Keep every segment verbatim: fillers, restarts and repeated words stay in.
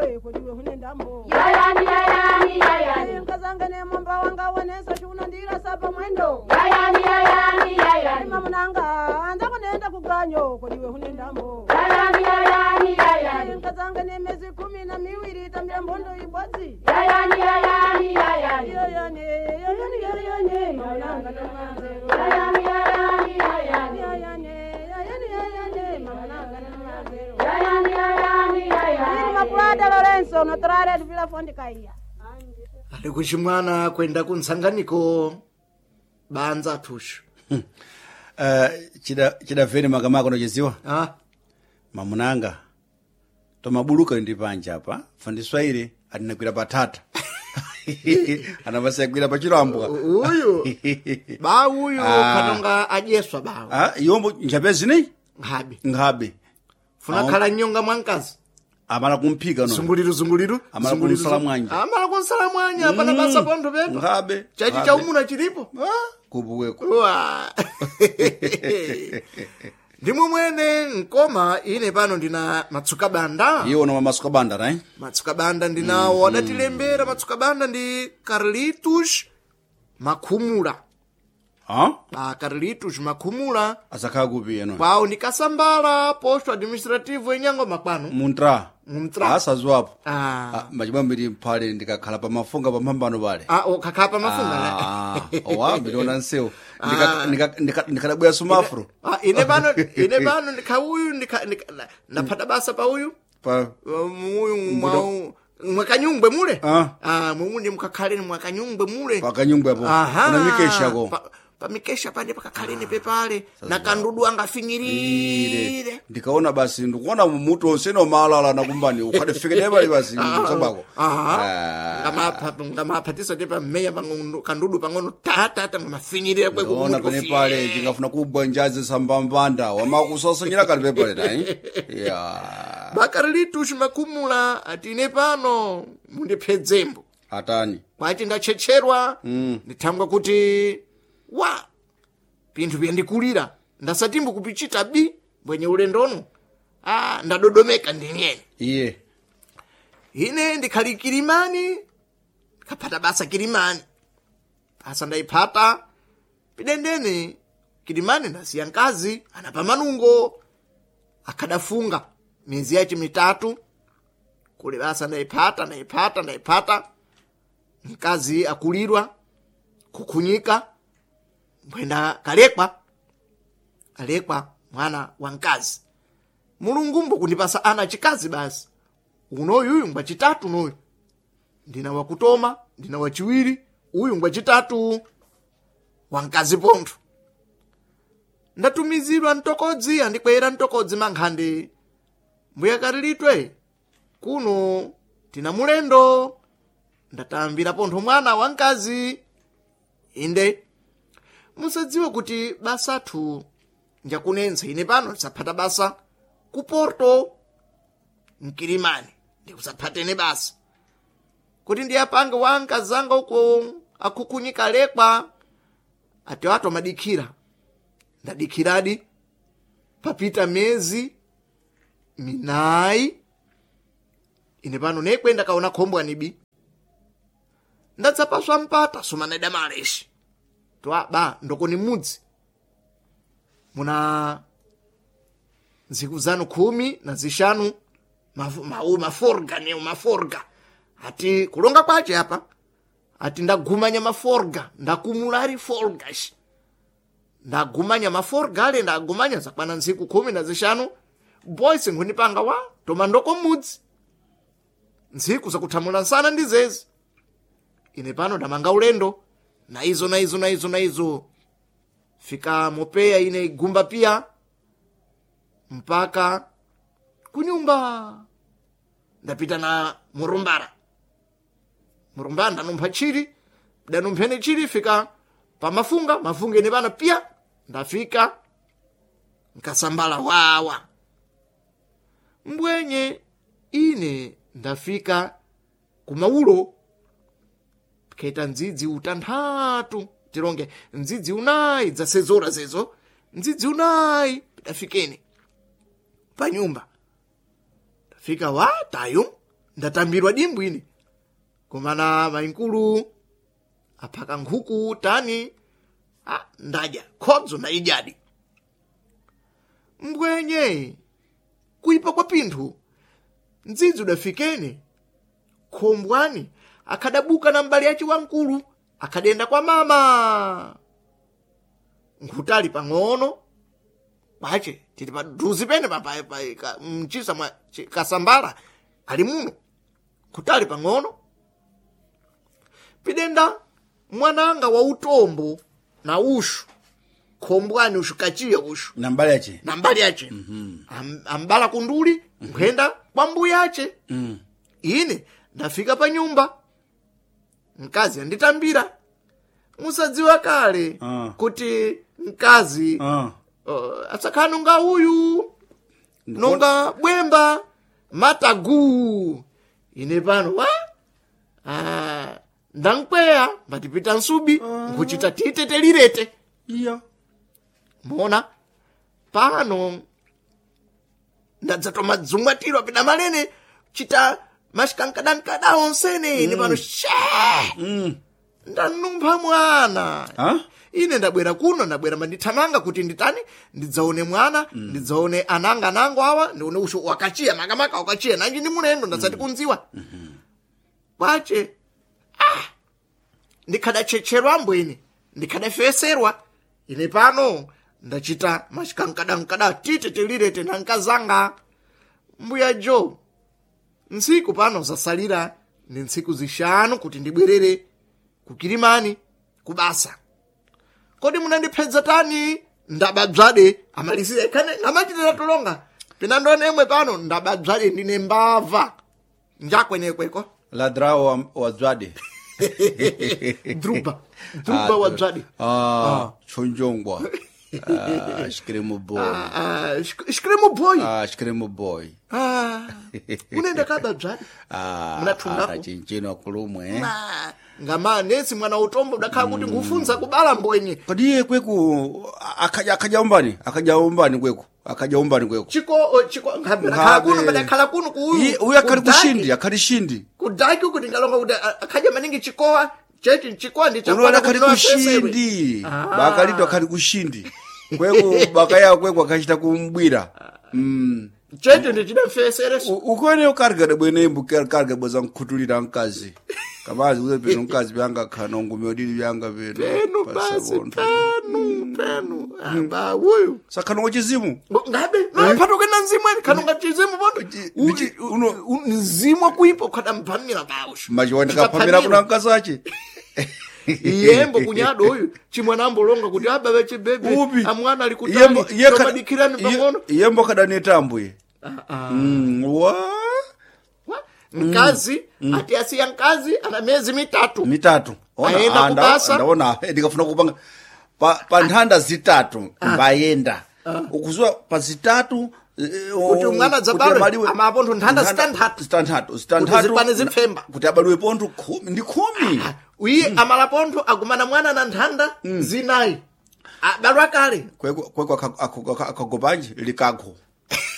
iwe kodiwe hunendambo Yayani yayani yayani. Nkazanga nemomba wanga wonesa shunandira sapa mwendo Yayani yayani yayani. Mamunanga anza kunenda kuganyo kodiwe hunendambo Yayani yayani yayani. Nkazanga nemezi kumi na miwiri tambira mbondo ibodzi Yayani yayani yayani. Yoyone yoyone yoyone mamunanga namanzero Yayani yayani yayani. Yoyone yoyone yoyone mamunanga namanzero Yayani yayani Ili yayani. Makulada Lorenzo notorare vila fondi kaiya Ali kuchimwana kwenda kuntsanganiko banza athushu Uh, chida chidaveni makamaka unochiziwa ah mamunanga tomabuluka ndi panja apa fandiswaire atinagwira patata anapasiyagwira pachilambwa uyu ba uyu Ah. panonga adyeswa bawo Ah, yombo njape zineyi nkhabe nkhabe funa Awo. khala nyonga mwa mkazi amala kumphika no zunguliru zunguliru Amala zunguliru, kunsala zungu- mwanja. amala kunsala mwanya pana basa pontho pepo nkhabe chachi nkhabe. cha umuna chilipo Ah, kupuweko Uwa. ndimwe mwene nkoma ine pano ndina matsuka banda iwo noma masuka banda right matsuka banda ndinawo adatilembera matsuka banda ndi Carlitos Makhumula ah ba Carlitos Makhumula asakhala kupi eno kwawo ndi Kasambala posto administrativo inyango makwano muntra Muntra. asaziwapo Ah. Ah, machibambiri mphale ndikakhala pamafunga pamphambano pale ah ukakhala pamafunga Ah, owa ndiliona nsewu ndikadabwera sumafro Ah, ine pano ine pano ndikha uyu ndikha ndikha- ndaphata basa pa uyu pa muyu mwau mwakanyungwe mule Ah. ah mumuni mukakhaleni mwakanyungwe mule pakanyungwe apo Aha. kuna mikeshako Pa- pamikesha pane pakakhaleni pepale na kandudu angafinyirire ndikaona basi ndikuona mutu onse nomalala nakumbani ukhadifike pali basi msabako Ah. ngamaphatisa te pammeya pang'ono kandudu pang'ono tatata ngamafinyirira kwe ona pene pale tingafuna kubwa njazi sambambanda wamakusasanyira kali pepale nayi ya bakarilitu makhumula ati ine pano mundiphedzembo atani kwachi ndatchetcherwa mm. ndithangwa kuti wa pinthu pyandikulira ndasatimbo kupichita bi bwenye ulendono ah, ndadodomeka ndinyene iye ine ndikhali kilimani ndikaphata basa kilimani basa ndayiphata pidendene kilimani ndasiya mkazi anapa manungo akhadafunga miyezi yace mitatu kule basa ndayiphata ndayiphata ndayiphata mkazi akulirwa kukhunyika mbwenda kalekwa alekwa mwana wa mkazi mulungu mbokundipasa ana achikazi basi unoyu uyu ngwachitatu noyu ndina wakutoma ndina wachiwiri uyu ngwachitatu wamkazi pontho ndatumizidwa mtokodzi andikwera mtokodzi mankhandi mbuya kalilitwe kuno tina mulendo ndatambira pontho mwana wamkazi inde musadziwe kuti basathu njakunensa ine pano ndisaphata basa ku porto mkilimani ndikusaphatene basa kuti ndiyapange wankazanga uko akhukunyika lekwa ati watu amadikhira ndadikhiradi papita mezi minayi ine pano nekwe ndakaona khombwe anibi ndatsapaswa mpata sumaneda maleshi twa ba ndokoni mudzi muna ntsiku zanu khumi na zishanu mafu- mau maforga neo maforga ati kulonga kwace apa ati ndagumanya maforga ndakumulari forgash ndagumanya maforga ale ndagumanya zakwana ntsiku khumi na zishanu boys nkhundipanga wa toma ndoko mudzi ntsiku zakuthamula nsana ndi zezi ine pano ndamanga ulendo na izo na izo na izo na izo fika mopeya ine igumba pia mpaka kunyumba ndapita na murumbara murumbara ndanumpha chili danumphene chili fika pamafunga mafunga ine pana pia ndafika nkasambala wawa mbwenye ine ndafika kumaulo keta ndzidzi utanthatu tilonge ndzidzi unayi dzasezora zezo ndzidzi unayi pidafikeni panyumba tafika wa tayu Ndatambirwa dimbu ine. Kumana mainkulu aphaka nkhuku tani, ah, ndadya khodzo ndaidyadi. Mbwenye kuipa kwa pinthu ndzidzi udafikene khombwani akhadabuka na mbali yace wamkulu akhadenda kwa mama nkhutali pang'ono kwace tili paduzi pene pa- pa- pa- ka- mchisa mwa chi- kasambala ali muno nkhutali pang'ono pidenda mwananga wa utombo na ushu khombwani ushu kachiya ushu Na mbali yache. na mbali yace Am, ambala kunduli nkhenda kwa mbuya ace mm. Ine ndafika pa nyumba mkazi anditambira musadziwa kale Ah. kuti mkazi Ah. uh, asakhala nonga uyu nonga bwemba matagu ine pano wa ah, ndankweya mbatipita nsubi nkuchita titetelirete Iya. mona pano ndadzatoma dzumwatirwa pida malene chita mashikankadankada onsene ine pano she ndanumpha mwana Ha? ine ndabwera kuno ndabwera mandithamanga kuti nditani ndidzaone mwana mm. ndidzaone ananga anango awa ndione usho wakachiya makamaka wakachiya nanji ndi mulendo ndasati kunziwa mm-hmm. kwache ah ndikhadachecherwa ambwene ndikhadafeserwa ine pano ndachita machikankadankada tite tilirete nankazanga mbuya jo ntsiku pano zasalira ndi ntsiku zishanu kuti ndibwerere kukilimani kubasa kodi munandiphenza tani ndabadzwade amalisire khane ngamachitira tulonga pinandone emwe pano ndabadzwade ndine mbava njakwenekweko Ladrao wa, wa dzwade. druba druba wa dzwade Ah, chonjongwa. Ah, shkremo boy. Ah, ah, shk- shkremo boy Ah, shkremo boy. Ah, unaenda kaba dzwade Ah, Munathungako? atachinchino kulumwe. eh. Ma, ngama nesi mwana utombo udakhala kuti ngufunza kubala mbwenye Kodi iye kweku akaja akaja umbani, akaja umbani kweku, akaja umbani kweku. chiko o, chiko ngabera kuno badakhala kuno ku Iye uyu akhali kudaki. kushindi, akhali shindi. Kudaki uku ndingalonga kuti a- akhaja maningi chikowa chechi chikowa ndi Unoona chakwana akhali kuti noafesewe. kushindi. Bakalito akhali kushindi. Kweku bakaya kweku akachita kumbwira. Mm. Chechi ndi chidafesereso Ukwene ukarga bwene imbu karga bweza nkhutulira mkazi. Kamazi uze peno mkazi byanga khano ngume odili byanga peno. penu basi penu penu amba uyu Sakhano wachizimu. ngabe nopatuke na mzimu eni khanonga chizimu pondo Chi- ndichi- uno- mzimu akuipa ukhadamphamira bawushu Machiwa ndikaphamira kuna mkazi ache. iyembo kunyado uyu chimwana ambolonga kuti ababa chibebe Upi. amwana ali Iyembo- kutali iye khada- tomadikirani iye- pang'ono Iyembo kadaneta ambuye. Mm, wa Wa? Mkazi ati asiya mkazi ana miyezi mitatu mitatu Ona, Aenda ah, nda- kubasa. ndaona eh, ndikafuna kupanga pa, pa nthanda zitatu mbayenda ukuziwa pa zitatu eh, Kuti oh, mwana kuti dzabadwe, abaliwe- ama apontho nthanda zitanthatu. zitanthatu zitanthatu zikwane zipfemba. kuti abaliwe pontho khumi ndi khumi uye amalapontho agumana mwana na nthanda zinayi abalwa kale kweko kweko aka- aka- aka- akagopanje likakho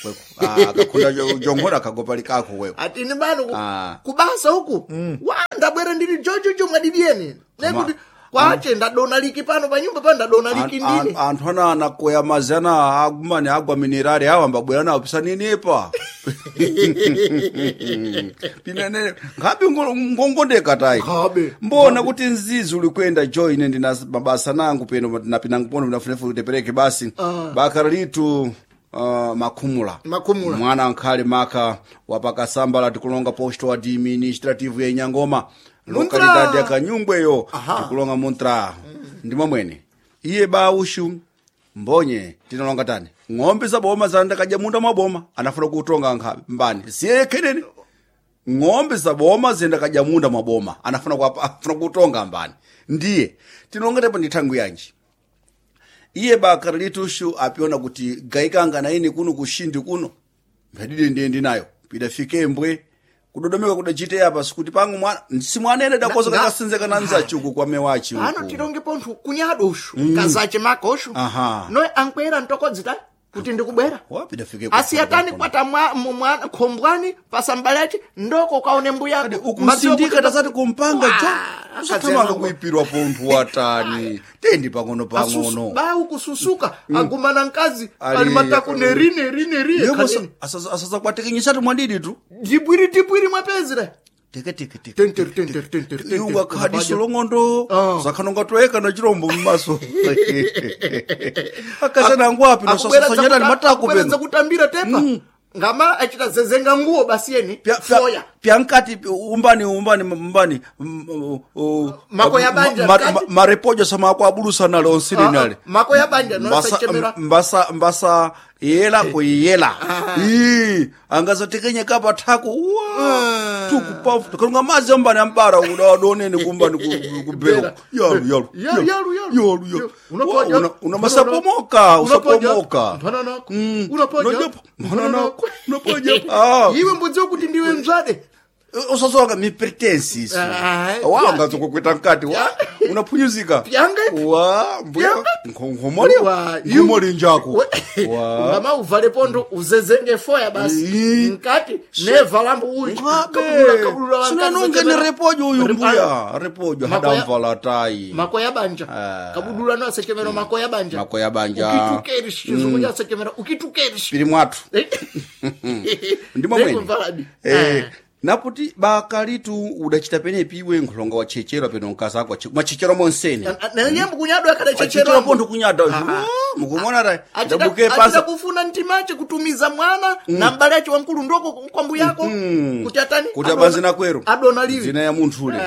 kweko Ah, akakhunda jo- jonkhona akagopa likakho kweko ati ine bano ku- Ah. kubasa uku wa ndabwera ndili jojojo mwadidyeni nekuti kwache ndadona liki pano panyumba pano ndadona liki An- ndine an- anthu ana anakoya mazi ana agumane agwa minerali awo ambabwera nawo pisanenepa pinene nkhabe ngo- ngongondeka tayi Nkhabe. mbona kuti nzizi uli kuyenda jo ine ndina mabasa nangu peno napinangu pono ndinafunefu tepereke basi bakhala litu Uh, makhumula Makhumula. mwana nkhale maka wapakasambala tikulonga posto administrative ya Nyangoma Muntra. lokalidade ya Kanyungweyo Aha. tikulonga muntra ndimwe mwene iye ba ushu mbonye tinalonga tani ng'ombe zaboma zandakadya munda mwaboma anafuna kutonga nkhabe mbani siye khenene ng'ombe zaboma zendakadya munda mwaboma anafuna kuapa- afuna kutonga mbani ndiye tinalonga tepo ndi thangu yanji iye bakara litushu apiona kuti gaikanga na ine kuno kushindi kuno mphadide ndiye ndinayo pidafike mbwe kudodomeka kudachite apa sikuti pangu mwana simwanene dakoza Na- na- kakasinzeka na nzachuku kwa mewachi pano uku tilonge pontho kunyado ushu kazache maka ushu Aha. noe ankwera ntokodzita Kuti ndikubwera. Wapidafike Asiyatani kwata mwa- mu- mwana khombwani pasambalachi ndoko kaone mbuyako. Ukusindika tasati kumpanga jo. Ah, Usathamanga akazi kuipirwa ponthu watani tendi pang'ono pang'ono. Ba ukususuka agumana nkazi Ali- ali matako neri neri neri Yebo ekhaleni. asasakwatekenyesatu mwadidi tu. Dibwiri dibwiri mwapezera. Teke teke teke. Tenter tenter tenter tenter. Iunga khadiso longondo Ah. zakhanonga toeka na chirombo mmaso. Akasana angwapi Akubwera nosasanyana ni zakuta- matako akubwera peno. zakutambira tepa. Ngama achita zezenga nguo basi yeni. Pya- pya- Foya. pyankati umbani umbani umbani mm, uh, uh, Mako ya banja, ma- mkati. ma- marepojo sama ako abulusa nale onsili Ah, ah, nale mako ya banja mbasa nosachemera. mbasa mbasa yela kuyela ii angazatekenye kapa thako wa tukupafu tukalunga madzi ambani ambara udawadonene kumbani ku- kubelo yalu yalu Yalu, yalu, yalu. yalu yalu Unapoja. Wa, una- una masapomoka Unapoja. usapomoka Mphana nako. Mm. Unapoja. Unajopa. Mphana nako. Unapoja. Ah. Iwe mbudziwa kuti ndiwe mzvade. Usasoka mipretensi isu Ah, wanga zokukwita mkati wa unaphunyuzika Pyanga ipi? wa mbuya Pyanga? nkhomoli Wa, iwe- nkhomoli njako wa Ngama uvale pondo uzezenge foya basi. Ii. Mkati nevalambo uyu. Kabulula, kabulula wankazi sinanonge ni zachemera. repojo uyu Repa- mbuya repojo Mako ya- hadamvala tayi Mako ya banja. Ah. Kabudula no asechemera mako ya banja. Mako ya banja. Ukitukerish chizungu cha asechemera ukitukerish. pili mwathu ndimo mwene Nekumvaladi. eh naputi bakalitu udachita penepi iwe nkhulonga wachechera peno mkazi ako wache- mwachechera monsene Nanyambo kunyadwa wachechera akadachechera. pontho kunyada mukumona ta Achida ndabuke achida pasa kufuna mtimache kutumiza mwana na mbale ache wamkulu ndoko kwa mbuyako kuti atani kuti abanzi nakwero adona livi dzina ya munthu ule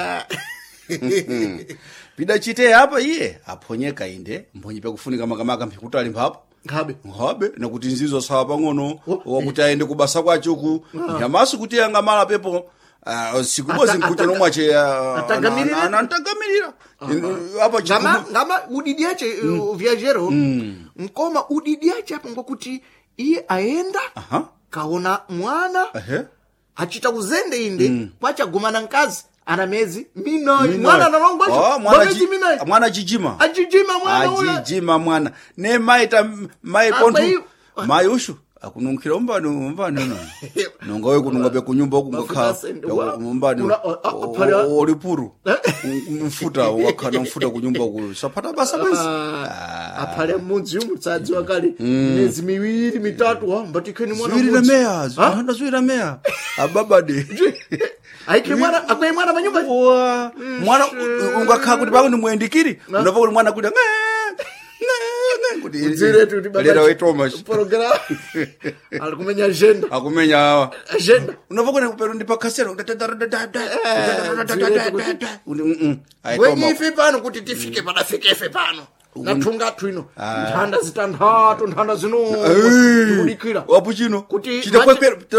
pidachite apa iye aphonyeka inde mphonye pakufunika makamaka mphikutali mphapo nkhabe nkhabe nakuti nzizo sawa pang'ono wakuti ayende kubasa kwachuku nyamasu kuti angamala pepo ah, siku imodzi Ata- nkucha ata- nomwache atagamirira? anantagamirira apa ngama chikubu ngama udidi ache mm. viajero nkoma udidi ache apo ngokuti iye aenda Aha. kaona mwana Ehe. achita kuzende inde kwachagumana nkazi ana mezi minayi mwana analongwa Oh, mwana mezi chi- minayi mwana chichima achijima mwana ula ajijima mwana ne maita mai Apa pontho iyo- mai ushu akununkhira umbani umbani uno nonga we kununga bekunyumba Mafuta ukungakha asende, wa- umbani Una- a- a- phela- olipuru mfuta wakhala mfuta kunyumba kuyo saphata basa bwezi aphale mudzi umu tsadziwa kale miyezi miwiri mitatu ha mbatikheni mwana ziwiri na mudzi. meya Ha? zihanda ziwiri na meya ababade Aikhe mwana akwaye mwana panyumba wa mwana ungakhala kuti pako ndimuyendikiri unabva kuti mwana kuti ng'e, ng'e, ng'e, kuti Udziretu kuti baba lera waitoma program ali kumenya agenda akumenya awa agenda unobva kuti pero ndipakhasera bwenye ife pano kuti tifike padafike ife pano nathunga ino nthanda zitanthatu nthanda zino tikudikira wapuchino Kuti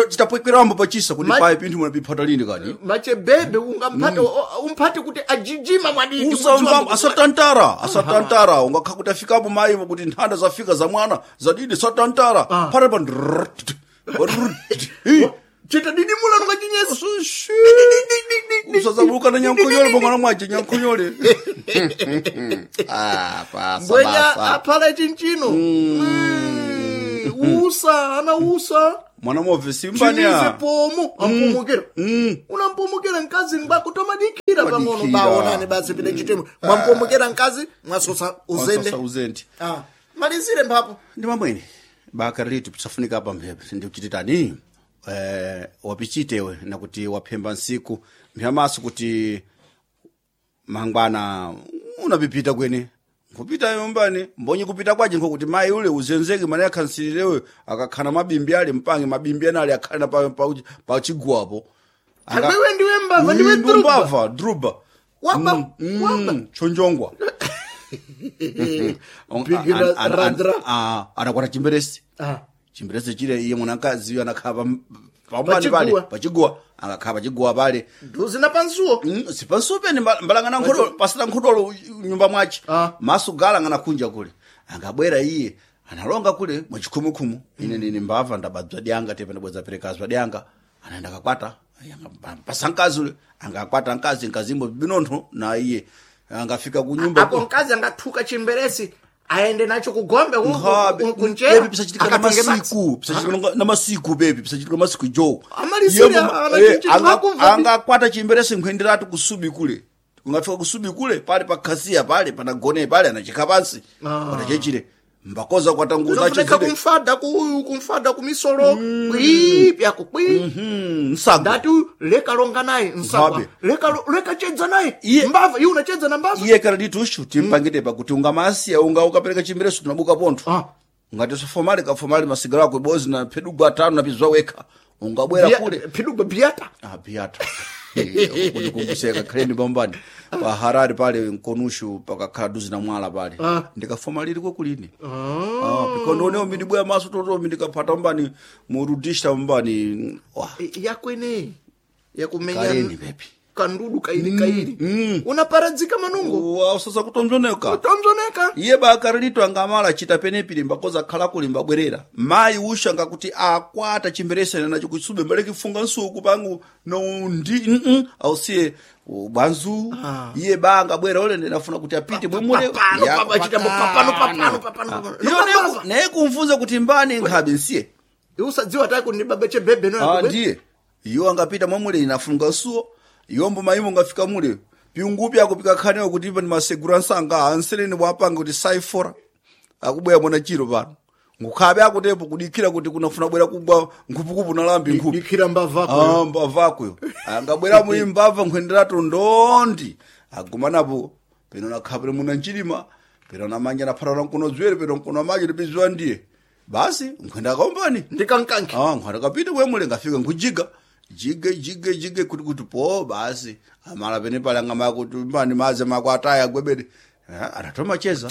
chitapwekwerambo pachisa kuti Ma- paye pinthu muna piphata lini kani machebebe ungamphate umphate kuti ajijima mwadidi usamva asatantara asatantara ungakha kuti afikapo mayivo kuti nthanda zafika za mwana zadidi satantara Ah. phata pa chita didimula nungachinyesi usazabuluka na nyankhunyole pomwana mwache nyankhunyole Ah, pasa, mbwenya basa. aphala chinchino Mm, usa ana usa mwana mobve chimize simbani pomo ampumukira unampumukira mkazi mbako tomadikira pang'ono Madikira. baonane basi pita chitemo mwampumukira mkazi mwasosa uzende uzende Ah, malizire mphapo ndi mamwene baka litu pisafunika apa mphepo ndikuchititani eh, wapichitewe nakuti waphemba nsiku mphamaso kuti mangwana unapipita kwene nkupita yombani mbonye kupita kwaje nkokuti mayi ule uzenzeke mane akhansirirewe akakhana mabimbi ale mpange mabimbi anali akhana pa, pa, pa chiguwapo Anga- Angwewe ndiwe mbava ndiwe Mm, druba mbava druba Waba, Mm, waba. mm, chonjongwa Bigina radra. anakwata chimberesi Ah. chimberesi chile iye mwanakazi anakhala pam- pambani pale Pachiguwa. pachiguwa angakhala pachiguwa pale Duzi na pansuwo Mm, sipansupeni mbalangana nkhodolo pasina nkhodolo nyumba mwache Ah. maso gala anganakunja kule angabwera iye analonga kule mwachikhumukhumu ine nini mbava ndabadzwa dyanga tepe ndabweza perekazwa dyanga anaenda kakwata pasa mkazi ule angakwata mkazi mkazimbo binontho na iye angafika kunyumba apo mkazi angathuka chimberesi Aende nacho kugombe ku- Nkhabe. ku- kunjera Bebi pisachitika na akatonge madzi. masiku pisachitika na- na masiku bebi pisachitika na masiku jo Amalisira, Yembo- ana eh, chinchi anga- ngakumva. angakwata chimberese nkhwenderatu kusubi kule kungafika kusubi kule pale pakhasiya pale panagone pale anachikha pansi patachechire mbakoza kwatanguza Unofuneka kumfada ku kumfada kumisolo kwi pyako kwi msago ndati leka longa naye nsagwa Nkhabe. leka leka chedza naye Iye- mbava iye unachedza na mbava iye kana ditushu timpangite pakuti ungamasiya unga ukapereka chimbereso tunabuka pontho Ah. ungati sofomali kafomali masigaro ako bozi na phedugwa atano napizwa wekha ungabwera Bia- kule phidugwa biata Ah, biata kundikumbuseka khaleni pambani pa harare pale nkonushu pakakhala duzi na mwala pale Ah. ndikafoma lili kwekulini ah, pikondoneo mindibweya maso totomi ndikaphata mbani murudishta mbani wah, yakwene yakumenya kaleni pepi kandudu kaili kaili unaparadzika manungo Wa, usasa kutomzoneka tomzoneka iye bakaralito angamala chita penepili mbakoza khala kuli mbabwerera mayi usha ngakuti akwata chimberesene nacho kutsube mbale kifunga nsuku pangu no ndi mm ausiye bwanzu iye ba angabwera ole ndinafuna kuti apite bwemule Papano, Ya, papa, chitambo, papano, papano, papano, papano. Iyo Nopapava. naye- naye kumfunza kuti mbani nkhabe nsiye usadziwa tayi kuti ndibaba chebhebhe Ah, ndiye iwo angapita mwamule inafunga nsuwo iwombo maimo ngafika mule piungupi akupika khanewo kuti ipa ndi masegura nsanga ansereni wapanga kuti saifora akubwera mwana chiro pano ngukhabe akutepo kudikira kuti kunafuna bwera kugwa nkhupukupu nalambi nkhupi dikira mbavako Ah, mbavakuyo angabwera muli mbava nkhwenderatu ndondi agumanapo peno nakhapire muna nchilima peno namanja naphatana mkono dzwere peno mkono amaji lipiziwa ndiye basi nkhwenda akaombani ndikankanke Ah, nkhwanda kapita kwemule ngafika nkujiga jige jige jige kuti kuti po basi amala pene pale angama kuti mbani maze mako ataya gwebede Ah, anatoma cheza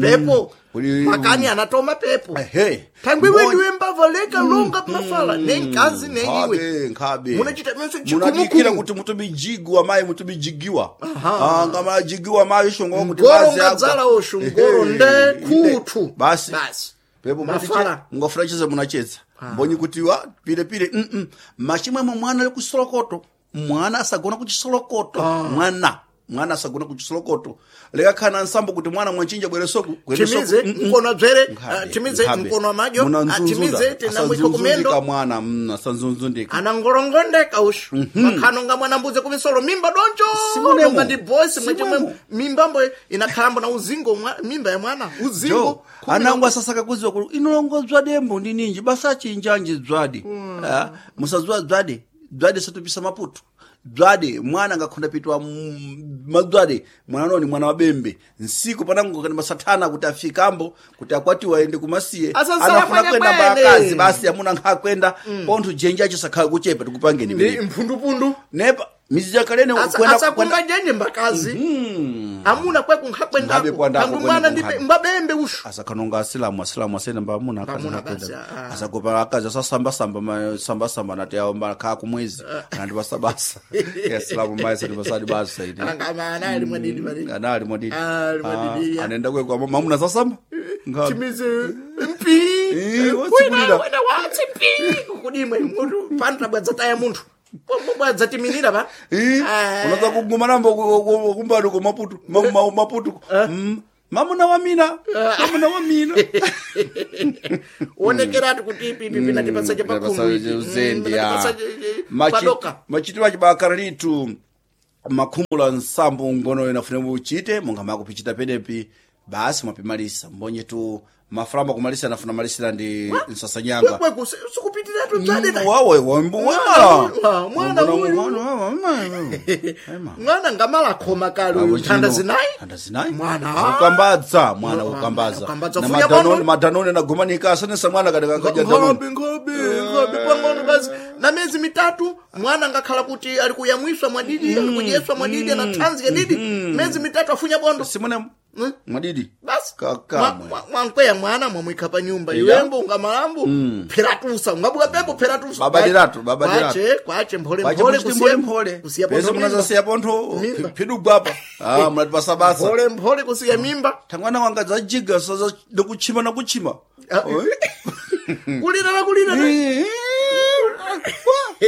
pepo Kuli- makani anatoma pepo ehe thangwiwe Mbonye- ndiwe mbava leka longa mafala nenkazi neiwe nkhabe nkhabe Munachita menso munadikira chikumukumu. kuti mutumijigiwa mayi mutumijigiwa Aha. Ah, ngamajigiwa mayi shongo kuti Ngoro mazi agwa. ngadzala oshu, ngoro Ehe, nde inde. kuthu. basi Basi. pepo Mafala. mungafuna cheza munacheza mbonyi kuti wa pilepile mm -mm. machimwemwe mwana ali kusolokoto mwana asagona kuchisolokoto mwana mwana asagona kuchisolokoto lekakhana nsambo kuti mwana mwanchinja bwere soku kwende soku. timize Mm -mm. mkono adzere Nkhabe, ah, timize nkhabe. mkono amadyo ah, Munanzunzunda. timize tinamwiko Asanzunzundika kumendo mwana mm, asanzunzundika anangorongondeka ushu makhano nga mwana mbuze kumisolo mimba donjo Simunemo. nonga ndi bosi Simunemo. mwechimwe mimbambo inakhalambo na uzingo mwa, mimba ya mwana uzingo jo anangu asasaka kuziwa kuti inolongozwa dembo ndi ninji basa chinjanji dzwadi Ah, musadziwa dzwadi dzwadi satupisa maputo dzwadi mwana angakhonda pitwa mm, madzwadi mwana noni mwana wabembe nsiku panango kani masathana kuti afikambo kuti akwatiwa aende kumasiye Asasala anafuna kwene kwenda kwene. mbakazi basi amuna nkhakwenda pontho jenji acho sakhala kuchepa tikupangeni ndi pene mphundupundu nepa mizi yakalene Asa- kwenda asakumba njenje mbakazi amuna Nkhabe kwekunkhakwendaku kwandako, tangu mwana kwene ndi kunkhabe. mbabembe ushu asakhanonga asilamu asilamu asene mbamuna akazi Mbamuna nakwenda. basi, ah. asagopa akazi asasambasamba ma- sambasamba nati awo mbakhala kumwezi anati basabasa asilamu mayi sati basadi basa ine angama ali mwadidi madidi ana ali mwadidi Ah, ali mwadidi, Ah, ya. anaenda kwekwa mamuna sasamba Nkhabe. timize mpi Eh, watsikulira. wena watsi mpi kudimwe munthu pano tabwadza taya munthu bwadzatiminira pa Eh, Ah. unaza kuguma nambo kumbali ko maputo ma- ma- maputo Mm, mamuna wa mina mamuna wa mina onekeratu kuti ipi ipi pinatipatsa uzendi padoka machitiro achibakara litu makhumula nsambo ngono inafune muchite monga makupichita penepi basi mwapimalisa mbonye tu mafulamba kumalisa anafuna malisira ndi nsasanyanga kwekweku sikupitiratu dzadeta wawe Mwana uyu, mwana uyu. wamwala mwana ngamalakhoma kale uyu nthanda zinayi nthanda zinayi Mwana. ukambadza mwana Mwana, ukambadza ukambadza. na Funya madanoni bono. madanoni anagumanika asanesa mwana katika kaja danoni nkhobe nkhobe nkhobe pang'ono basi na miyezi mitatu mwana ngakhala kuti ali kuyamwiswa mwadidi ali kudyeswa mwadidi ana thanzi yadidi miyezi mitatu afunya bondo simone Mm. mwadidi basi Kakamwe. Mwa- mwa- mwankweya mwana mwamwikha pa nyumba Iya. iwembo ungamalambo pheratusa ungabuka pepo pheratusa Babadiratu, babadiratu. kwache kwache mphole Kwache mphole muchiti kusiya mphole mphole kusiya pese pontho mimba. munazasiya pontho Mimba. phidugwapa ah munati pasabasa mphole mphole kusiya mimba thangwana wanga zajiga saza nakuchima nakuchima Ah. kulira na kulira na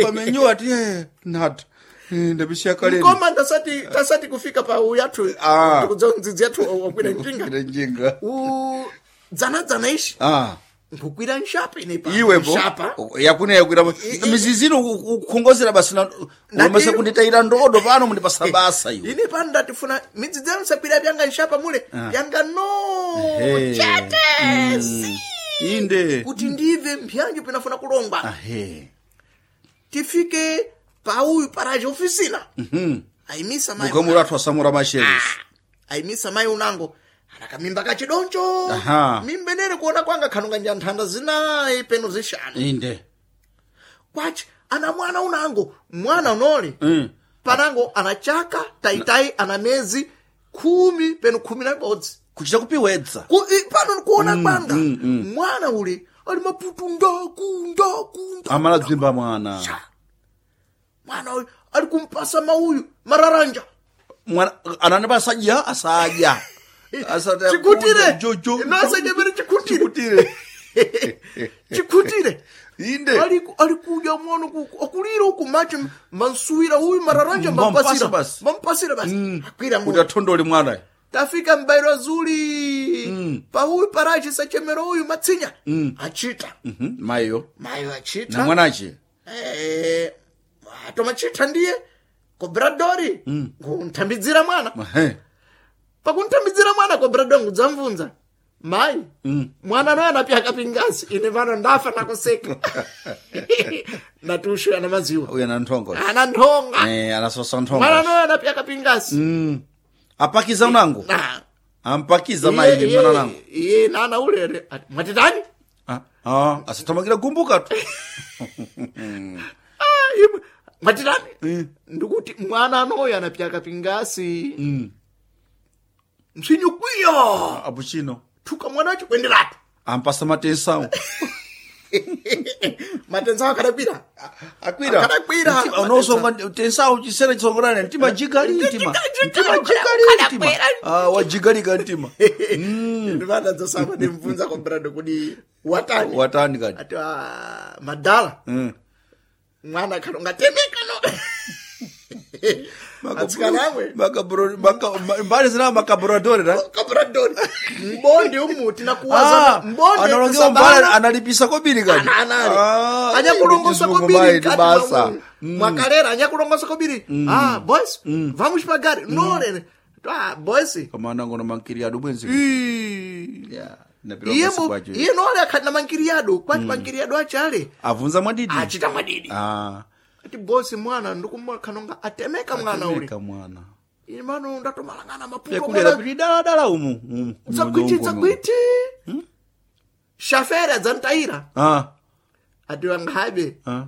pamenyo ati eh, nata Ndabisha kaleni. Koma ndasati tasati kufika pa uyathu Ah. tikudza ndzidzi yathu wakwira njinga. Kwira njinga. U dzana dzana ishi Ah. nkukwira nshapa ine pa. Iwepo Nshapa. yakune yakwira I- mizizino kukhongozera basi na ulomesa kunditayira ndodo pano mundipasa basa iwe. Ine pano ndatifuna midzidzi yanu sakwira byanga nshapa mule byanga no Ehe. chete si Inde. kuti ndive mpyanjo pinafuna kulongwa. Ahe. Tifike pa uyu paraje ofisina. Ayimisa mai. Mukamura athu asamura masheres. Ayimisa mai unango anakamimba kachidoncho. Aha. Mimbenere kuona kwanga khanonga nja nthanda zinayi peno zishanu. Inde. Kwachi ana mwana unango mwana unoli Mm. panango anachaka taitai ana mezi khumi peno khumi na ibodzi. Kuchita kupiwedza. Ku- i- pano nkuona kwanga mwana ule ali maputu ndaku ndaku ndaku. Amala dzimba mwana. Cha. Mwana uyu ali kumpasa mauyu mararanja. Mwana anani basadya asadya. Asada Chikutire. Jojo. Nasanyemere chikutire. Chikutire. Chikutire. Inde. Ali ali kudya mwana ku akulira uku machi mansuwira uyu mararanja Mampasa mampasira basi. Mampasira basi. Akwira Kuti mwana. athondole mwana. Tafika mbairo zuli. Mm. Pauyu parachi sachemero uyu matsinya. Mm. Achita. Mhm. Mayo. Mayo achita. Na mwanache. Eh, atomachita ndiye kobradori mm. nkuntambidzira mwana. Ehe. Pakuntambidzira mwana kobradori ngudzamvunza mai mm. mwana noyo anapyaka pingasi ine pano ndafa nakuseka ndatushu ana maziwa Uyu ana nthongo. ana nthonga Eh, anasosa nthongo. mwana noyo anapyaka pingasi Mm. Apakiza unango. Na. Ampakiza mai Iye- mwana nango. iye nana ulere Ati, mwatitani Ah, ah, asathamangira gumbuka tu. Ah, imwe mwatitani ndikuti mwana anoyo anapyaka pingasi Mm. msinyu kwiya Apo chino. thuka mwana wacho kwenderatu Ampasa matensawo. matensawo akadakwira Akwira. Akadakwira. Mtima- Unosonga tensawo chisera chisongorane mtima jigali mtima. Mtima jigali mtima. Ah, wajigalika mtima. ndivana dzosamba ndimvunza kombrado kuti watani Watani kati. ati "Ah, madala Mm. mwana khalonga temeka no atsikana amwe Makabro maka mbali zina makaboradori ra. kabradori mbonde umu tinakuwaza Ah, mbonde analongewa mbali kusabana analipisa kobiri kati. anali Ah, anyakulongosa chizungu kobiri mai kati basa. mwa- mwakalera anyakulongosa kobiri ah boys vamos pagari no lere ah boys Kama nango na mankiri adu bwenzi. Ii. Yeah. Napira iye kasi mu- kwacho. iye nole akhali na mankiriyado kwati mankiriyado achale Avunza mwadidi. achita mwadidi Ah. ati bosi mwana ndikumkhanonga atemeka mwana ule Atemeka mwana. ine mano ndatomalangana maputo Yakulera mwana kuti dala dala umu. umu, dzakwiti umu, umu. dzakwiti shafere adzantayira Ah. ati wanghabe Ah.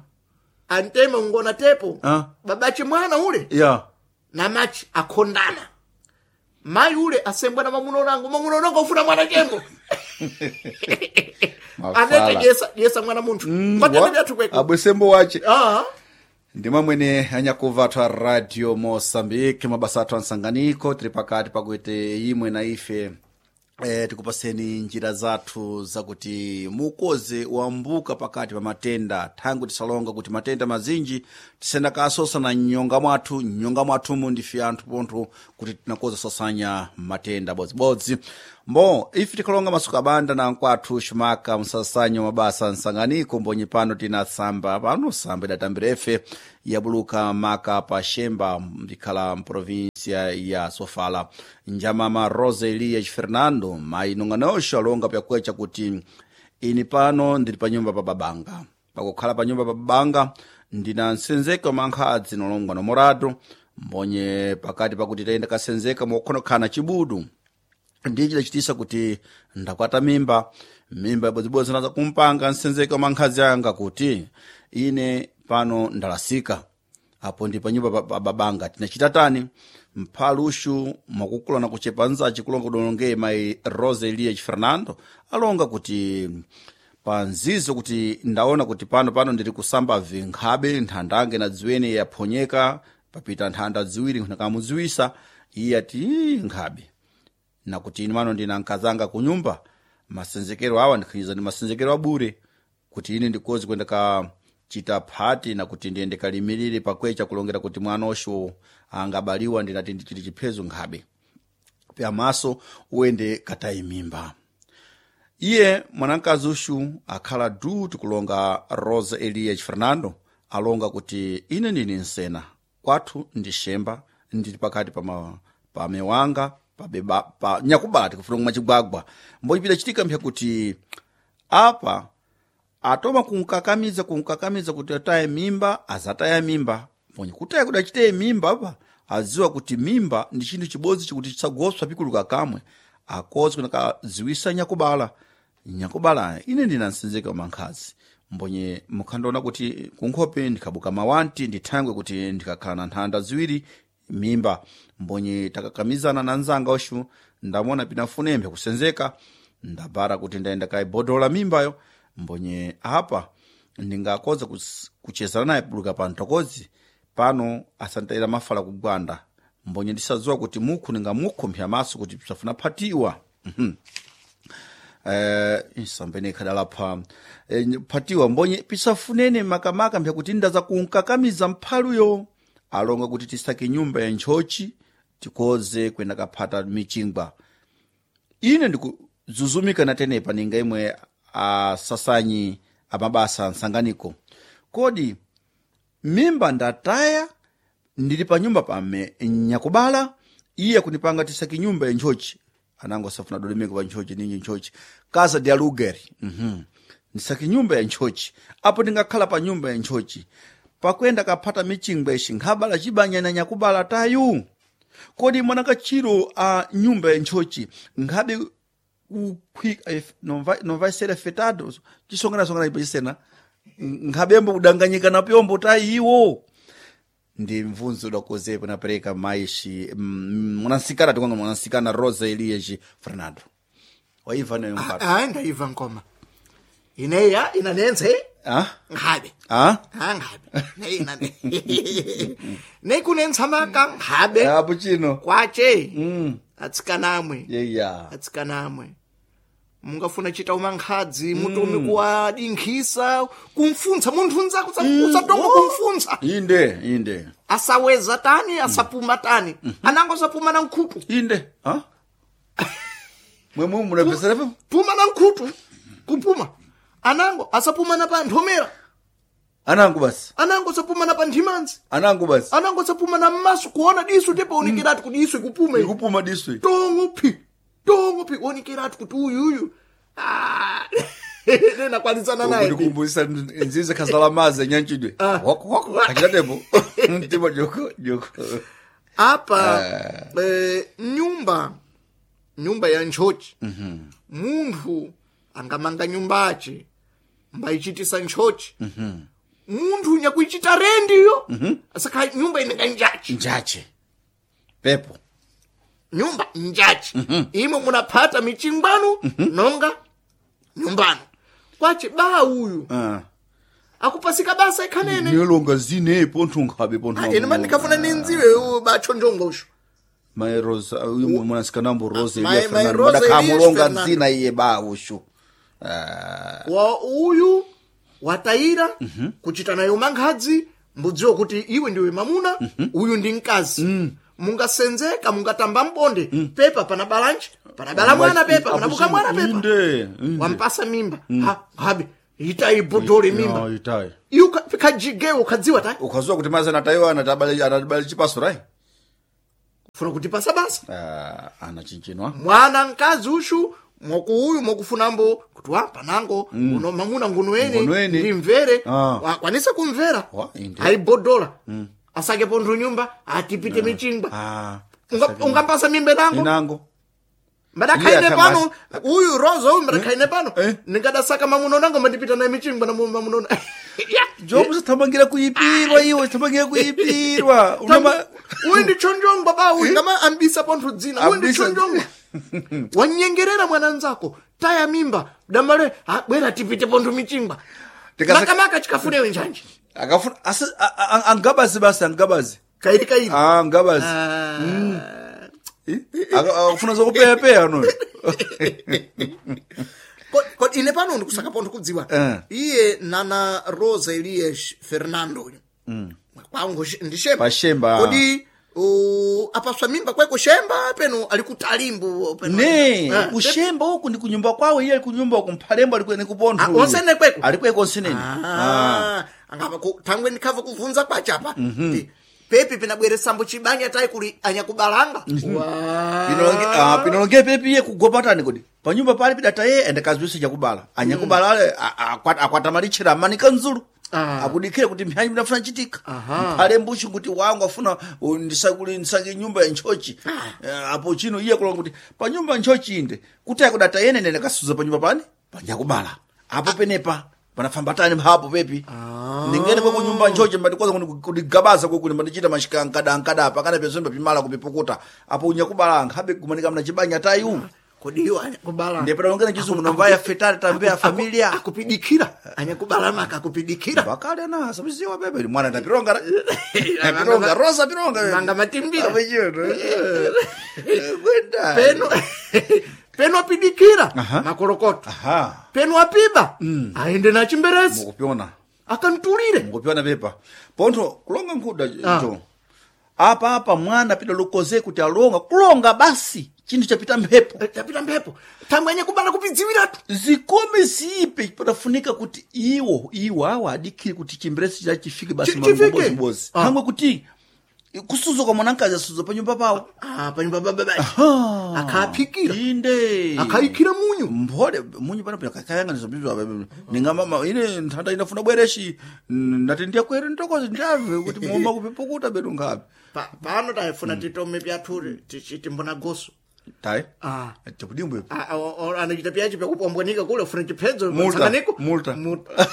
antema ngona tepo Ah. babache mwana ule Yeah. namachi akhondana mayi ule asembwa na mamuna unango mamuna unango ufuna mwana chembo anete dyesa dyesa mwana munthu kwatene byathu kweko Abwesembo wache. ah Ndimamwene anyakuva athu a radio Moçambique mabasa athu ansanganiko tiri pakati pakuti imwe na ife e, tikupaseni njira zathu zakuti mukoze wambuka pakati pa matenda thangu tisalonga kuti matenda mazinji tisenda kasosa na nyonga mwathu nyonga mwathumu ndife anthu pontho kuti tinakoza sosanya matenda bodzibodzi mbo ife tikalonga masuku abanda na nkwathu xumaka msasanyo mabasa nsanganiko mbonye pano tina tsamba pano samba idatambirefe yabuluka maka pa xemba mbikhala mprovinsia ya sofala njamama rosa elias fernando mayi nong'anonxo alonga pyakueca kuti ini pano ndili pa nyumba pa babanga pakukhala pa nyumba pa babanga ndina nsenzeka mankhadzi nolongwa nomorado mbonye pakati pakuti tayenda kasenzeka mokhonokhala chibudu ndiye chidachitisa kuti ndakwata mimba mimba ibodzibodzi naza kumpanga nsenzeka mankhazi anga kuti ine pano ndalasika apo ndi panyumba pa- pa babanga tinachita tani mphaluxu mwakukula na kuchepa nzaci kulonga kudolongeye mayi rosa elias fernando alonga kuti panzizo kuti ndaona kuti pano pano ndiri kusamba vinkhabe nthandange na dziwene yaphonyeka papita nthanda ziwiri nkamudziwisa iye ati "Ii, nkhabe nakuti ine mano ndina nkazanga kunyumba masenzekero awa ndikhinyiza ndi masenzekero abure kuti ine ndikozi kwenda ka chita phati na kuti ndiyende kalimirire pakwecha kulongera kuti mwana osho angabaliwa ndinati ndichiti chiphezo nkhabe pyamaso uende katayi mimba. Iye mwanamkazi ushu akhala du tikulonga Rosa Elias Fernando alonga kuti ine ndini nsena kwathu ndi shemba ndili pakati pa, ma, pa mewanga pa, beba, pa nyakubala tikufuna kumwa chigwagwa mbochipita chitika mpya kuti apa atoma kunkakamiza kunkakamiza kuti ataye mimba azataya mimba mbonye kutaya kuti achiteye mimba apa aziwa kuti mimba ndi chinthu chibodzi chikuti chisagoswa pikuluka kamwe akozi kunakaziwisa nyakubala nyakubala ine ndinansinzika mankhazi mbonye mukhandiona kuti kunkhope ndikhabuka mawanti ndithangwe kuti ndikakhala na nthanda ziwiri mimba mbonye takakamizana na nzanga ushu ndamona pinafunembe kusenzeka ndabara kuti ndayenda kaibodola mimbayo mbonye apa ndingakoza kus- kuchezana naye puluka pa ntokozi pano asantayira mafala kugwanda mbonye ndisadziwa kuti mukhu ndingamukhu maso kuti pisafuna phatiwa. Mhm. Eh, isambene ikhadalapha eh, phatiwa mbonye pisafunene makamaka mpyakuti ndaza kunkakamiza mphaluyo alonga kuti tisake nyumba ya ntchochi tikoze kwenda kaphata michingwa. Ine ndikuzuzumika natenepa ninga imwe asasanyi amabasa nsanganiko kodi mimba ndataya ndili pa nyumba pame nyakubala iye kunipanga tisaki nyumba ya ntchochi anango asafuna dodomeko pa ntchochi ninji ntchochi casa de aluguer. Mhm ndisaki nyumba ya ntchochi apo ndingakhala pa nyumba ya ntchochi pakwenda kaphata michingwa ishi nkhabala chibanyana nyakubala tayu kodi mwanakachiro a nyumba ya ntchochi nkhabe kukhwika eh, não vai não vai ser afetado chisongana ipo chisena nkhabembo kudanganyika na pyombo tayiwo ndi mvunzo udakozepo napereka maishi mm, mwanansikana tikwanga mwanansikana Rosa Elias Fernando waimva nayo mpata Ah, ndaiva nkoma ineya inanenze ah nkhabe ah Ah, nkhabe Ne inane nekunentsamaka nkhabe apo chino kwache mm atsikanamwe yeya atsikanamwe mungafuna chita umankhadzi mutomi kuwadinkhisa kumfunsa munthu nzako usatongo kumfunsa inde inde asaweza tani asapuma tani anango asapuma na nkhutu inde ah mwemwe munapesera puma na nkhutu kupuma anango asapuma na pa nthomera anangu basi anango asapuma na pa nthimanzi anangu basi anango asapuma na mmaso kuona diso tepaonekeratu kuti diso ikupuma ili. ikupuma diso tongo phi tongo phi onekeratu kuti uyuyu Ah, nenakwanidzana naye ndikumbusisa nzize khazala mazi nyanchidwe Ah. wako wako kachitatepo mtima joko joko apa eh, nyumba nyumba ya ntchochi munthu angamanga nyumbache mbayichitisa ntchochi munthu nyakuichita rendiyo asakha nyumba inenga njachi njache pepo nyumba njachi imwe munaphata michingwanu nonga nyumbano kwache ba uyu ah akupasika basa ikhanene nilonga zine pontho nkhabe pontho ene mandikafuna nindziwe bachonjongosho mai Rosa uyu mwanasikanambo Rosa Mai- Elias Mai Fernando Rosa Elias madakamulonga Fernando. zina iye ba ushu ah wa uyu watayira kuchita nayo mankhadzi mbudziwa kuti iwe ndiwe mamuna uyu ndi mkazi mungasenzeka mungatamba mbonde pepa pana balanji pana bala mwana pepa panabuka mwana pepa inde inde wampasa mimba ha habe itai bodole mimba Ya, itai iwe kajigewo ukadziwa tai ukazuwa kuti mazi anatayiwa anatabali anatabali chipaso rai funa kutipasa basa ah anachinjinwa mwana mkazi ushu mwaku uyu mwakufunambo kuti wa panango uno mamuna nguno ene Ngono ene. ndimvere Ah. wakwanisa kumvera Wa, inde. ayibodola asake pontho nyumba atipite michingwa ah Unga- ungampasa mimba nango inango madakhaine Iye pano uyu roza uyu madakhaine pano Eh. ningadasaka mamuno nango mandipita naye michingwa na mamuno jobu sithamangira kuipirwa iwe sithamangira kuipirwa Unoma- uyu ndi chonjongwa ba uyu ngama ambisa pontho dzina uyu ndi Ambisa- chonjongwa wanyengerera mwana nzako taya mimba damale ah, bwera tipite pontho michingwa Tikasa- makamaka chikafunewe njanji akafuna asi a- a- angabazi basi angabazi kairi kairi ah angabazi Ah. Eh? Aka- akafuna zokupeyapeya no Ko- ko ine pano ndikusaka pontho kudziwa Eh. iye nana Rosa Elias Fernando uyu kwangu shi- ndi Shemba Pa Shemba. kodi uh, apaswa mimba kweko Shemba peno ali kutalimbu peno ne Eh, kushemba uku ndi kunyumba kwawo iye ali kunyumba uku mphalembo ali ni kupontho Ah, onsene kweko? ali kweko onsenene Ah, angapa ku- thangwe ndikhava kuvunza kwachapa Ti, pepi pinabweresambo chibanya tayi kuli anyakubalanga Wa. Pinolonge- ah, pinolonge pepi iye kugopatani kodi panyumba pali pidata ye ende kazwise chakubala anyakubala ale a- a- akwa- akwatamalitchera amanika nzulu Ah. akudikire kuti mphanyi pinafuna chitika Aha. mphale mbushi kuti wangu afuna uh, ndisakuli ndisake nyumba ya ntchochi Eh, apo chino iye kulonga kuti pa nyumba ntchochi inde kuti akudata yene nene kasuza pa nyumba pani panyakubala apo penepa panafambatani mphapo pepi ndingene kwe kunyumba ntchochi mbandikoza kudigabaza kwekuli mbandichita mashikankada ankada pakana pezombe pimala kupipukuta apo unyakubala ankhabe kumanika mna chibanya tayu kodi iwo anyakubala ndepera chizungu nomvaya fetale tambea familia akupidikira anyakubala maka akupidikira bakale na sabiziwa bebe mwana ndapironga pironga rosa pironga Manga matimbira. Apechoto. Kwenda. peno peno apidikira Aha. makorokoto Aha. peno apiba aende na chimberezi Mukupiona. akantulire Mukupiona pepa. Pontho kulonga nkhuda Ah. jo. Apa apa mwana pita lukoze kuti alonga kulonga basi chinthu chapita mphepo. Eh, chapita mphepo thangwe anyakubala kupidziwiratu Zikome zipe padafunika kuti iwo iwo awa adikhire kuti chimberesi chachifike basi Chi- chifike. mabozibozi. Ah. Thangwe kuti kusuzo kwa mwanankazi asuzo pa nyumba pawo. ah, panyumba baba bachi akaphikira Inde. akaikira munyu mphole munyu pano pino kakayang'aniza bzibzo apa ninga ine nthanda inafuna bwereshi ndati ndiyakwere ntokozi ndiyabve kuti muoma kupipukuta bedu ngapi Pa- pano tayifuna titome pyathu timbona goso tayi Ah. chakudimbwe Ah, ah, o- o- anachita pyachi pyakupombwanika kule ufuna chiphedzo Multa, mtsanganiko multa. Multa.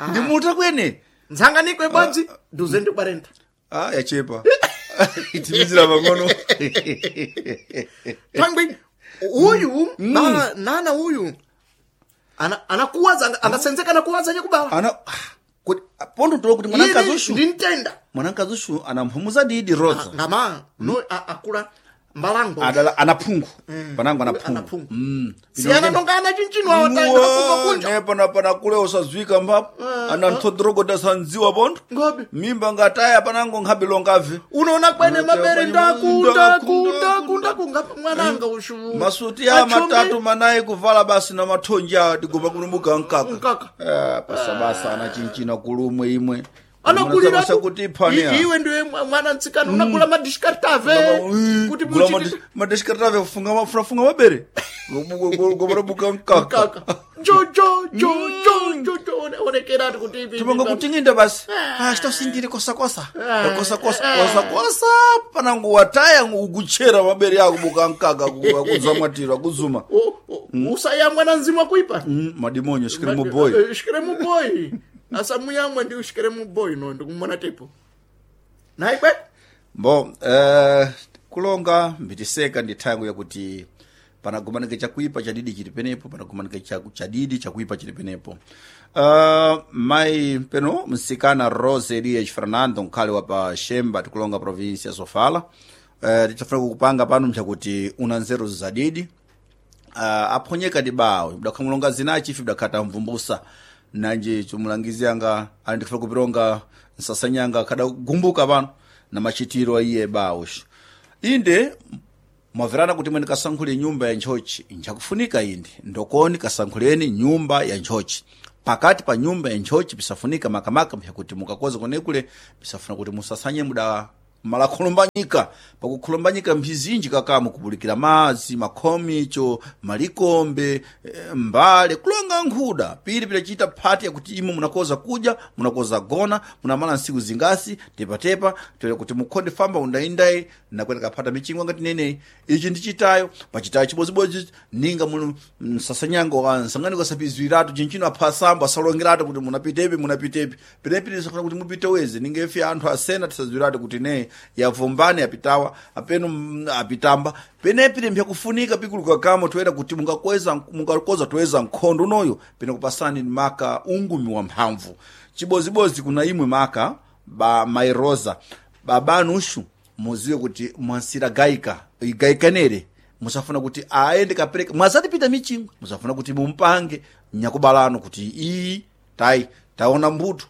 ndi multa kwene mtsanganiko ibodzi duze ndi kwarenta ah yachepa itimizira pang'ono thangwi uyu bala nana uyu ana anakuwaza anga- angasenzeka anakuwaza nyakubala ana kuti pondo tulo kuti mwanankazi ushu ndi mtenda mwanankazi ushu anamphumuza didi rosa ngama no a- akula mbalango adala anaphungu panango anaphungu anaphungu Mm. siyana nonga ana chinchino awatakuva kunja nepana pana kule usazwika mphapo ana nthodrogoda sandziwa pontho Ngobe. mimba ngataya panango nkhabe longabve unoona kwene mabere ndakunda Ndakunda, kunda kunda mwananga ushu masuti ya matatu manayi kuvala basi na mathonji awa tigoma kulumuka mkaka Mkaka. Eh, pasabasa ana chinchina kulumwe imwe anakulira Munasabasa kuti iphania iwe ndiwe mwa- mwana mtsikana unakula madishikartave kuti muchiti madeshikartave kufunga funafunga mabere gomarabuka mkaka mkaka jo jo jo jo jo jo one- onekerati kuti ipi- timanga kutinginda basi ah chitosindire kosakosa kosakosa kosakosa panango wataya ukuchera mabere ako buka mkaka akuzamwatira akuzuma O- o- usayamwa na nzima kuipa Mm, madimonyo shikiri muboyi Eh, shikire muboyi asamuyamwa ndi ushikire muboyi no ndikumona tepo nayi kwe mbo eh, kulonga mbitiseka ndi thango yakuti panagumanike chakuipa chadidi chili penepo panagumanike chaku- chadidi chakuipa chili penepo uh, mayi peno msikana Rose Elias Fernando nkhale wa pa Shemba tikulonga provinsi ya Sofala uh, tichafuna kukupanga pano mchakuti una nzeru zadidi uh, aphonyeka ndi bawo idakhamulonga zinachi ife idakhata mvumbusa nanji chumulangizi anga ali ndikufuna kupironga nsasanyanga kada gumbuka pano na machitiro aiye bawo inde mwamverana kuti mwene kasankhule nyumba ya ntchochi nchakufunika inde ndokoni kasankhuleni nyumba ya ntchochi pakati pa nyumba ya ntchochi pisafunika makamaka mpyakuti mukakoza konekule pisafuna kuti musasanye muda malakhulumbanyika pakukhulumbanyika mphizinji kakamu kupulikira madzi makhomicho malikombe eh, mbale kulonga nkhuda pili pilachita phati yakuti imwe munakoza kudya munakoza gona munamala nsiku zingasi tepatepa tele kuti mukhonde famba undaindayi nakweta kaphata michingwa ngati neneyi ichi ndi chitayo pachitayo chibozibodzi ninga munu msasanyango wa nsanganiko asapizwiratu chinchino aphasambo asalongeratu kuti munapitepi munapitepi penepi tisafuna kuti mupite wezi ninga ife anthu asena tisazwiratu kuti ne yavumbani yapitawa apeno mm, apitamba penepi limpya kufunika pikuluka kamo toyera kuti mungakweza mungakoza toyeza nkhondo unoyo pene kupasani maka ungumi wa mphamvu chibozibozi kuna imwe maka ba mairosa babanushu muziwe kuti mwansira gaika igaikanere Musafuna kuti aende kapereka mwazatipita michingwe, musafuna kuti mumpange nyakubalano kuti iyi tayi taona mbuto,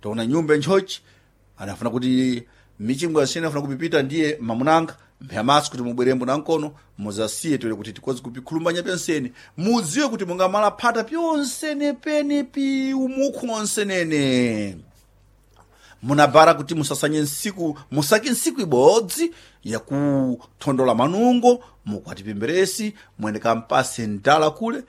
taona nyumba nchochi. Anafuna kuti michingwe asina afuna kupipita ndiye mamunanga mphamaso kuti mubwerembo na nkono muzasiye tole kuti tikozi kupikhulumbanya pyonsene mudziwe kuti mungamala phata pyonsene pene pi umukhu onsenene munabara kuti musasanye nsiku musake nsiku ibodzi yakuthondola manungo mukwati pemberesi mwene kampase ndala kule